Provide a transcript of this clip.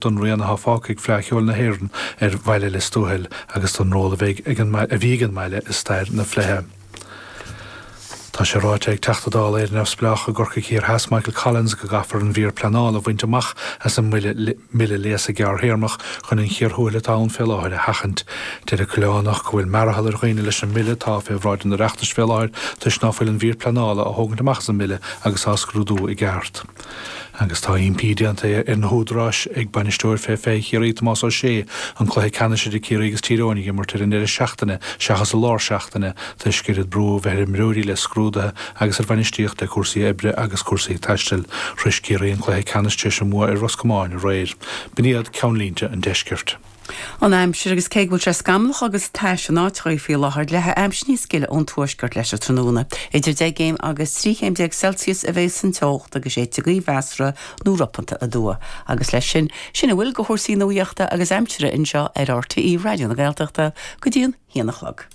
Don rian atá fágtha ag Fleadh Cheoil na hÉireann ar bhaile Lios Tuathail agus don ról a bheidh ag an a bhí ag an mbaile i stair na Fleidhe. Tá sé ráite ag Teachta Dála Éire Neamhspleách i gCorcaigh Thiar Theas Michael Collins go gcaithfear an mhír pleanála a bhaint amach as an mBille Léasa Gearrthéarmach chun an chíor thuathail atá ann fé láthair a sheachaint. Deir an Coileánach go bhfuil mearathall ar dhaoine leis an mBille atá fé bhráid an Oireachtais fé láthair toisc ná fuil an mhír pleanála á thógaint amach as an mBille agus á scrúdú i gceart. Agus tá impí déanta ar na húdaráis ag bainisteoir fé 20 Chiarraí, Tomás Ó Sé, an cluiche ceannais idir Ciarraí agus Tír Eoghain a imirt ar an ndeireadh seachtaine seachas i lár seachtaine toisc oiread brú a bheith ar imreoirí le scrúduithe agus ar bhainistíocht le cúrsaí oibre agus cúrsaí taistil. Shrois Ciarraí an cluiche ceannais tar éis a mbua ar Ros Comáin aréir. B'in iad ceannlínte an deiscirt. An aimsir, agus cé go bhfuil sé scamallach agus tais in áiteachaí faoi láthair, leathfaidh aimsir níos gile ón tuaisceart leis an tráthnóna. Idir 10 gcéim agus 13 chéim Celsius a bheidh san teocht agus séidfidh gaoth mheasartha nó ropanta aduaidh. Agus leis sin, sin a bhfuil de chúrsaí nuachta agus aimsire anseo ar RTÉ Raidió na Gaeltachta go dtí an haon a chlog.